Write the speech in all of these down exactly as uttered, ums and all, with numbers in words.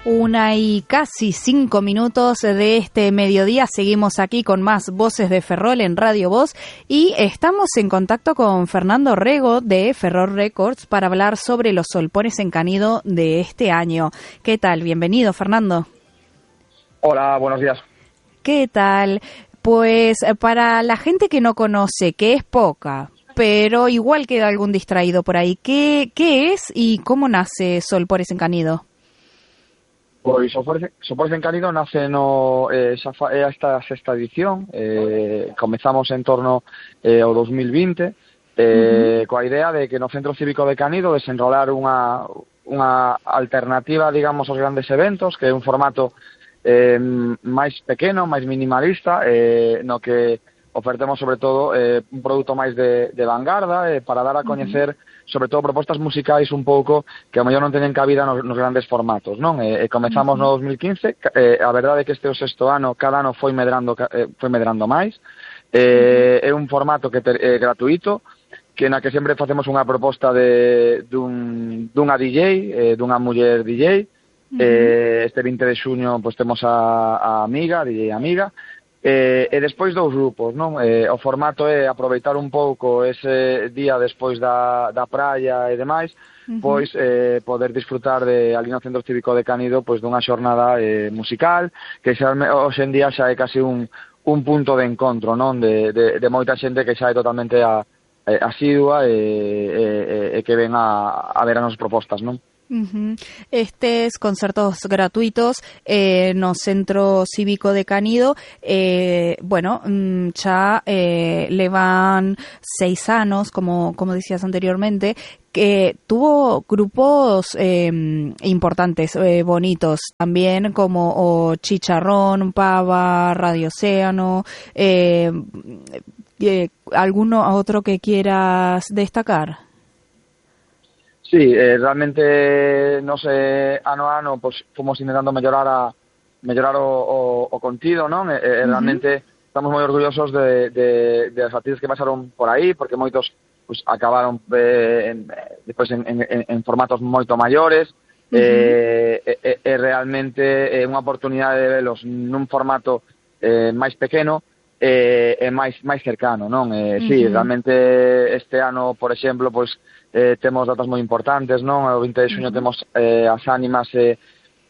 Una y casi cinco minutos de este mediodía. Seguimos aquí con más Voces de Ferrol en Radio Voz y estamos en contacto con Fernando Rego de Ferrol Records para hablar sobre los solpones en Canido de este año. ¿Qué tal? Bienvenido, Fernando. Hola, buenos días. ¿Qué tal? Pues para la gente que no conoce, que es poca, pero igual queda algún distraído por ahí, ¿qué, qué es y cómo nace Solpores en Canido? Pois Solpores en Canido nace no, eh, xa fa, é esta sexta edición, eh, comezamos en torno eh, ao dos mil vinte, eh, uh-huh. coa idea de que no Centro Cívico de Canido desenrolar unha, unha alternativa, digamos, aos grandes eventos, que é un formato eh, máis pequeno, máis minimalista, eh, no que ofertemos sobre todo eh, un produto máis de, de vanguarda eh, para dar a coñecer uh-huh. sobre todo propostas musicais un pouco que ao mellor non teñen cabida nos, nos grandes formatos, non? E, e comezamos uh-huh. no dos mil quince, eh, a verdade é que este é o sexto ano, cada ano foi medrando eh, foi medrando máis. Eh, uh-huh. É un formato que ter, é gratuito, que na que sempre facemos unha proposta de dun dunha D J, eh, dunha muller D J. Uh-huh. Eh, este vinte de xuño pois temos a, a amiga, D J amiga. Eh, e despois dous grupos, non? Eh, o formato é aproveitar un pouco ese día despois da, da praia e demais, uh-huh. pois eh, poder disfrutar de ali no Centro Cívico de Canido pois dunha xornada eh, musical, que xa, hoxe en día xa é casi un, un punto de encontro, non? De, de, de moita xente que xa é totalmente a, a, asidua e, e, e que ven a, a ver as nosas propostas, non? Uh-huh. Estes concertos gratuitos eh, no Centro Cívico de Canido eh, bueno, xa eh, levan seis anos, como, como decías anteriormente, que tuvo grupos eh, importantes, eh, bonitos, también como o Chicharrón, Pava, Radio Océano, eh, eh, ¿alguno otro que quieras destacar? Sí, eh, realmente, no sé, ano a ano, pues, fomos intentando mellorar a mellorar o, o, o contido, non? Eh, uh-huh. Realmente estamos moi orgullosos de, de, de as artistas que pasaron por aí, porque moitos pues, acabaron eh, en, despois en, en, en formatos moito maiores, uh-huh. eh, e, e realmente é unha oportunidade de velos nun formato eh, máis pequeno e eh, máis máis cercano, non? Eh, uh-huh. Sí, realmente este ano, por exemplo, pois pues, Eh, temos datas moi importantes, non? O vinte de xuño uh-huh. temos eh, as Ánimas e,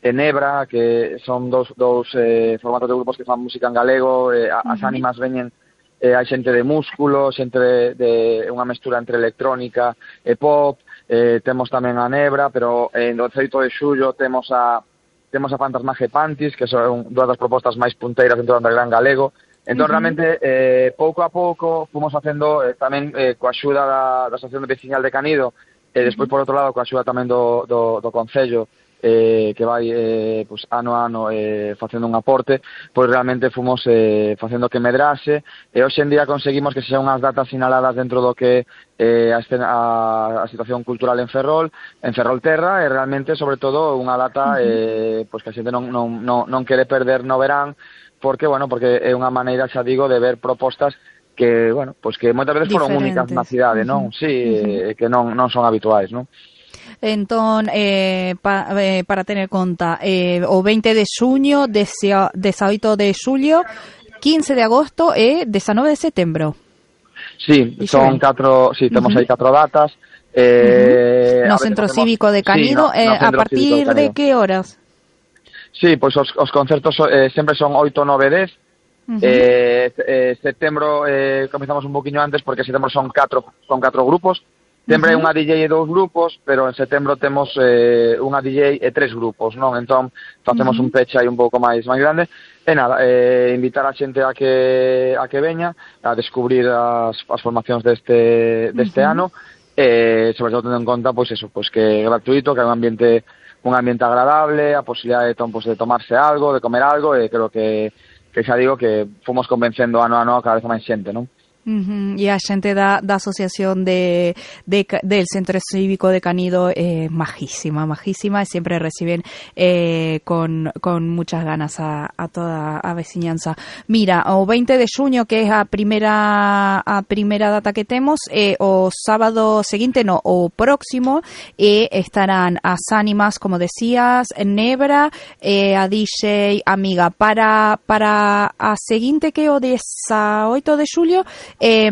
e Nebra, que son dous, dous eh, formatos de grupos que fan música en galego. Eh, uh-huh. As Ánimas veñen, eh, hai xente de Músculo, xente de, de unha mestura entre electrónica e pop. Eh, temos tamén a Nebra, pero eh, no dezaoito de xullo temos a temos a Fantasmaje Pantis, que son dúas das propostas máis punteiras dentro do underground galego. Entón, uh-huh. realmente, eh, pouco a pouco, fomos facendo eh, tamén eh, coa axuda da, da Asociación Veciñal de Canido, e despois, por outro lado, coa axuda tamén do, do, do Concello, eh, que vai eh, pues, ano a ano eh, facendo un aporte, pois realmente fomos eh, facendo que medrase, e hoxe en día conseguimos que sexan unhas datas sinaladas dentro do que eh, a, escena, a, a situación cultural en Ferrol, en Ferrolterra, e realmente, sobre todo, unha data uh-huh. eh, pois que a xente non, non, non, non quere perder no verán, porque, bueno, porque é unha maneira, xa digo, de ver propostas que, bueno, pois que moitas veces foron únicas na cidade, non? Uh-huh. Sí, uh-huh. que non, non son habituais, non? Entón, eh, pa, eh, para tener conta, eh, o veinte de xuño, dezaoito de xulio, quince de agosto e dezanove de setembro. Sí, e son catro, sí, temos uh-huh. aí catro datas. Eh, uh-huh. No Centro temos, Cívico de Canido, sí, no, no eh, a partir de, de que horas? Sí, pois os, os concertos eh, sempre son oito, nove, dez. Uh-huh. Eh, eh, setembro eh, comezamos un poquinho antes porque setembro son catro, son catro grupos. Sempre hai uh-huh. unha D J e dous grupos, pero en setembro temos eh, unha D J e tres grupos, non? Entón facemos uh-huh. un peche aí un pouco máis máis grande. E nada, eh, invitar a xente a que a que veña a descubrir as, as formacións deste deste uh-huh. ano, e eh, sobre todo tendo en conta pois eso, pois que é gratuito, que é un ambiente un ambiente agradable, a posibilidade de, pues, de tomarse algo, de comer algo, e creo que, que xa digo que fomos convencendo ano a ano cada vez máis xente, non? Uh-huh. E a xente da, da asociación de, de, del Centro Cívico de Canido é eh, majísima, majísima, e sempre reciben eh, con, con muchas ganas a, a toda a veciñanza. Mira, o veinte de xuño, que é a primeira a primeira data que temos, eh, o sábado seguinte, no, o próximo, e eh, estarán as ánimas, como decías, Nebra, eh, a D J Amiga. Para, para a seguinte, que é o dezaoito de xulio, Eh,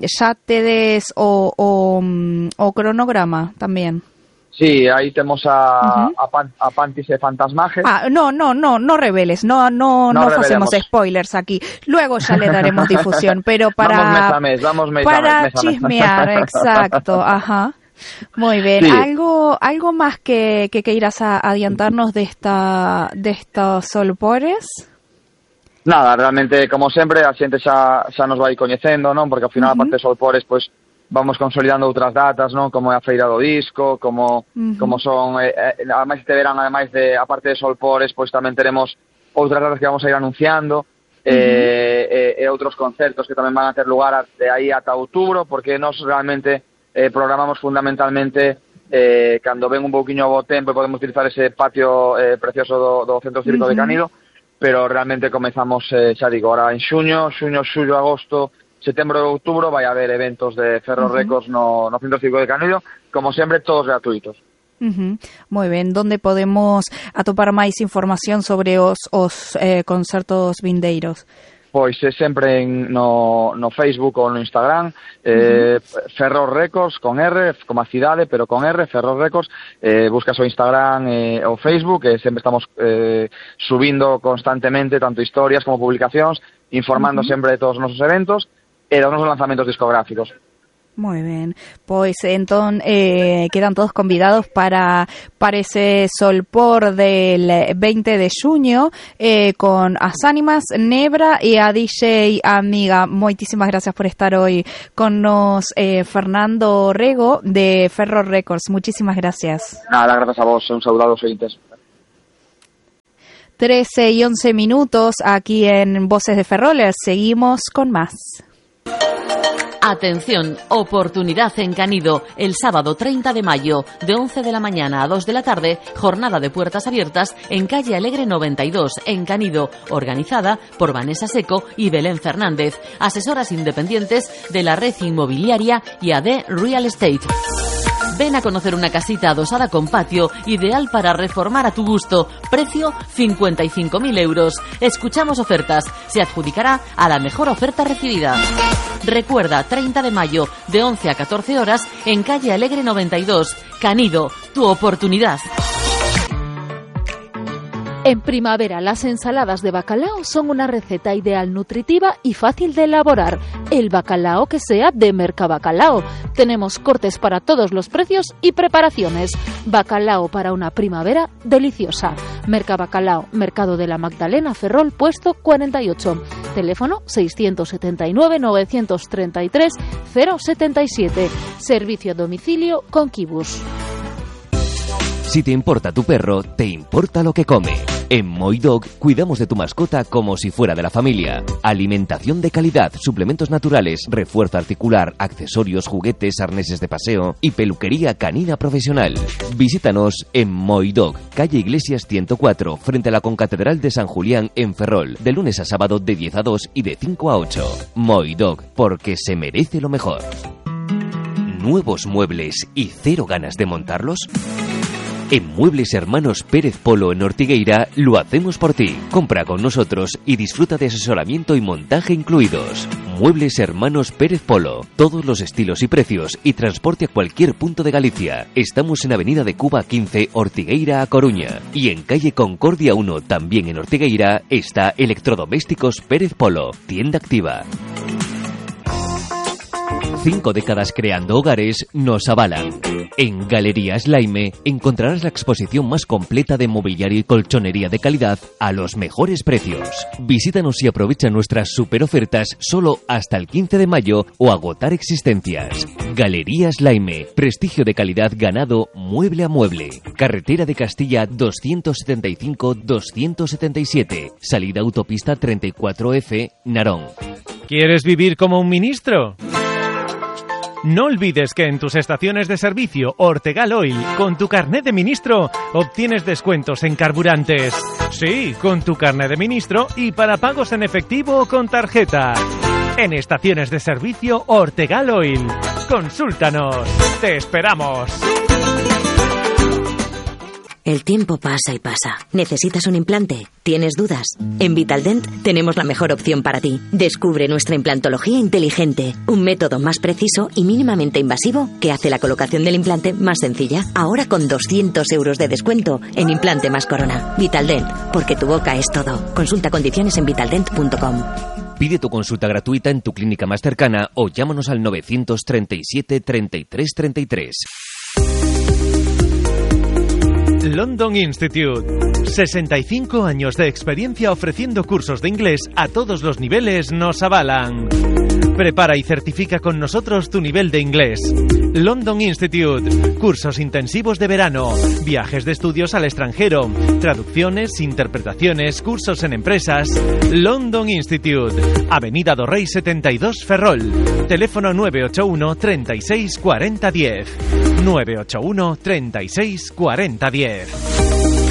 xa tedes o, o, o cronograma tamén. Sí, aí temos a, uh-huh. a, pan, a Pantis e Fantasmaje. Ah, no, no, no, no reveles, no, no, no, no facemos spoilers aquí. Luego ya le daremos difusión, pero para vamos mes a mes, vamos mes para a mes, chismear, exacto, ajá. Muy bien. Sí. Algo, algo más que que queiras adiantarnos de esta de estos solpores. Nada, realmente, como sempre, a xente xa, xa nos vai coñecendo, non? Porque ao final, uh-huh. a parte de Solpores, pois, vamos consolidando outras datas, non? Como é a Feira do Disco, como, uh-huh. como son, eh, eh, ademais este verán, ademais de, a parte de Solpores, pois tamén teremos outras datas que vamos a ir anunciando, uh-huh. eh, eh, e outros concertos que tamén van a ter lugar de aí ata outubro, porque nos realmente eh, programamos fundamentalmente eh, cando ven un pouquiño bo tempo e podemos utilizar ese patio eh, precioso do, do Centro Cívico uh-huh. de Canido, pero realmente comezamos, eh, xa digo, ahora en xuño, xuño, xullo, agosto, setembro e outubro vai haber eventos de Ferro uh-huh. Records no, no Centro Cívico de Canido, como sempre, todos gratuitos. Uh-huh. Moi ben, donde podemos atopar máis información sobre os, os eh, concertos vindeiros? Pois é sempre en, no, no Facebook ou no Instagram, eh, uh-huh. Ferro Records con R, como a cidade, pero con R, Ferro Records, eh, buscas o Instagram e eh, o Facebook, e sempre estamos eh, subindo constantemente tanto historias como publicacións, informando uh-huh. sempre de todos os nosos eventos e dos nosos lanzamentos discográficos. Muy bien, pues entonces eh, quedan todos convidados para, para ese Solpor del veinte de xuño eh, con as ánimas, Nebra e a D J Amiga. Moitísimas gracias por estar hoy con nos, eh, Fernando Rego de Ferro Records. Muchísimas gracias. Nada, gracias a vos, un saludo a los oyentes. trece y once minutos aquí en Voces de Ferroles. Seguimos con más. Atención, oportunidad en Canido, el sábado treinta de mayo, de once de la mañana a dos de la tarde, jornada de puertas abiertas en calle Alegre noventa y dos, en Canido, organizada por Vanessa Seco y Belén Fernández, asesoras independientes de la red inmobiliaria y A D Real Estate. Ven a conocer una casita adosada con patio, ideal para reformar a tu gusto. Precio cincuenta y cinco mil euros. Escuchamos ofertas. Se adjudicará a la mejor oferta recibida. Recuerda, treinta de mayo, de once a catorce horas, en calle Alegre noventa y dos. Canido, tu oportunidad. En primavera, las ensaladas de bacalao son una receta ideal, nutritiva y fácil de elaborar. El bacalao que sea de Mercabacalao. Tenemos cortes para todos los precios y preparaciones. Bacalao para una primavera deliciosa. Mercabacalao, Mercado de la Magdalena, Ferrol, puesto cuarenta y ocho. Teléfono seiscientos setenta y nueve, novecientos treinta y tres, cero setenta y siete. Servicio a domicilio con Kibus. Si te importa tu perro, te importa lo que come. En Moi Dog cuidamos de tu mascota como si fuera de la familia. Alimentación de calidad, suplementos naturales, refuerzo articular, accesorios, juguetes, arneses de paseo y peluquería canina profesional. Visítanos en Moi Dog, calle Iglesias ciento cuatro, frente a la Concatedral de San Julián en Ferrol, de lunes a sábado de diez a dos y de cinco a ocho. Moi Dog, porque se merece lo mejor. ¿Nuevos muebles y cero ganas de montarlos? En Muebles Hermanos Pérez Polo en Ortigueira lo hacemos por ti. Compra con nosotros y disfruta de asesoramiento y montaje incluidos. Muebles Hermanos Pérez Polo. Todos los estilos y precios y transporte a cualquier punto de Galicia. Estamos en Avenida de Cuba quince, Ortigueira a Coruña. Y en calle Concordia uno, también en Ortigueira, está Electrodomésticos Pérez Polo. Tienda activa. Cinco décadas creando hogares nos avalan. En Galerías Laime encontrarás la exposición más completa de mobiliario y colchonería de calidad a los mejores precios. Visítanos y aprovecha nuestras super ofertas solo hasta el quince de mayo o agotar existencias. Galerías Laime, prestigio de calidad ganado mueble a mueble. Carretera de Castilla doscientos setenta y cinco doscientos setenta y siete, salida autopista treinta y cuatro F, Narón. ¿Quieres vivir como un ministro? No olvides que en tus estaciones de servicio Ortegal Oil, con tu carnet de ministro, obtienes descuentos en carburantes. Sí, con tu carnet de ministro y para pagos en efectivo o con tarjeta. En estaciones de servicio Ortegal Oil. Consúltanos. ¡Te esperamos! El tiempo pasa y pasa. ¿Necesitas un implante? ¿Tienes dudas? En Vitaldent tenemos la mejor opción para ti. Descubre nuestra implantología inteligente, un método más preciso y mínimamente invasivo que hace la colocación del implante más sencilla. Ahora con doscientos euros de descuento en implante más corona. Vitaldent, porque tu boca es todo. Consulta condiciones en vitaldent punto com. Pide tu consulta gratuita en tu clínica más cercana o llámanos al novecientos treinta y siete treinta y tres treinta y tres. London Institute. sesenta y cinco años de experiencia ofreciendo cursos de inglés a todos los niveles nos avalan. Prepara y certifica con nosotros tu nivel de inglés. London Institute. Cursos intensivos de verano, viajes de estudios al extranjero, traducciones, interpretaciones, cursos en empresas. London Institute. Avenida do Rey setenta y dos, Ferrol. Teléfono nueve ocho uno, treinta y seis, cuarenta, diez. nueve ocho uno, treinta y seis, cuarenta, diez.